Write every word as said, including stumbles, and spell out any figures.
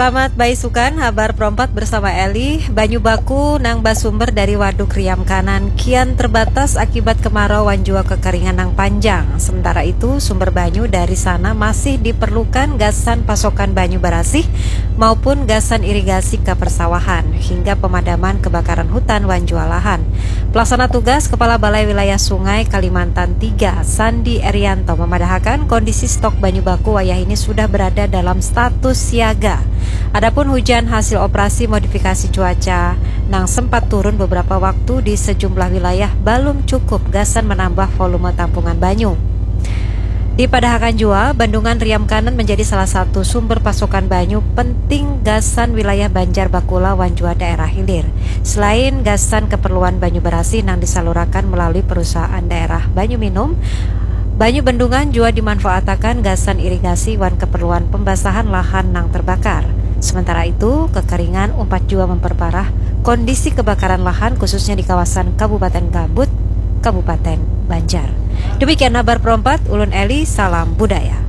Selamat baisukan, habar perompat bersama Eli. Banyu baku nang basumber dari Waduk Riam Kanan kian terbatas akibat kemarau wan jua kekeringan nang panjang. Sementara itu, sumber banyu dari sana masih diperlukan gasan pasokan banyu barasih maupun gasan irigasi ka persawahan, hingga pemadaman kebakaran hutan wan jua lahan. Pelaksana tugas Kepala Balai Wilayah Sungai Kalimantan tiga, Sandi Erianto, memadahakan kondisi stok banyu baku wayah ini sudah berada dalam status siaga. Adapun hujan hasil operasi modifikasi cuaca nang sempat turun beberapa waktu di sejumlah wilayah belum cukup gasan menambah volume tampungan banyu. Dipadahakan jua, Bendungan Riam Kanan menjadi salah satu sumber pasokan banyu penting gasan wilayah Banjar Bakula wan jua daerah hilir. Selain gasan keperluan banyu barasih nang disalurakan melalui perusahaan daerah banyu minum, banyu bendungan jua dimanfaatakan gasan irigasi wan keperluan pembasahan lahan nang terbakar. Sementara itu, kekeringan umpat jua memperparah kondisi kebakaran lahan khususnya di kawasan Kabupaten Gambut, Kabupaten Banjar. Demikian habar perompat, ulun Eli, salam budaya.